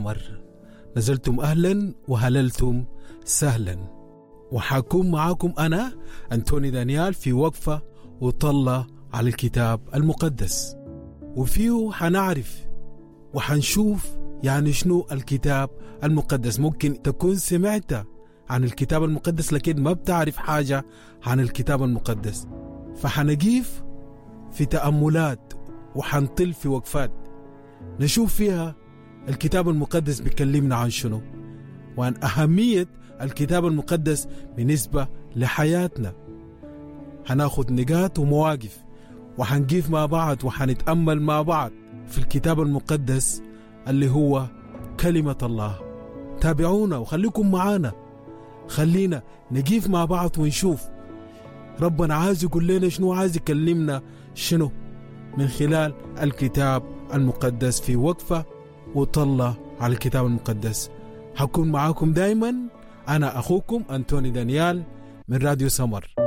سمر. نزلتم أهلا وهللتم سهلا، وحاكون معاكم أنا أنتوني دانيال في وقفة وطلة على الكتاب المقدس، وفيه حنعرف وحنشوف يعني شنو الكتاب المقدس. ممكن تكون سمعت عن الكتاب المقدس لكن ما بتعرف حاجة عن الكتاب المقدس، فحنقيف في تأملات وحنطل في وقفات نشوف فيها الكتاب المقدس بيكلمنا عن شنو، وعن أهمية الكتاب المقدس بالنسبة لحياتنا. هناخد نقاط ومواقف وحنقيف مع بعض وحنتأمل مع بعض في الكتاب المقدس اللي هو كلمة الله. تابعونا وخليكم معانا، خلينا نقيف مع بعض ونشوف ربنا عايز يقول لنا شنو، عايز يكلمنا شنو من خلال الكتاب المقدس في وقفة وطلة على الكتاب المقدس. هكون معاكم دايما أنا أخوكم أنتوني دانيال من راديو سمر.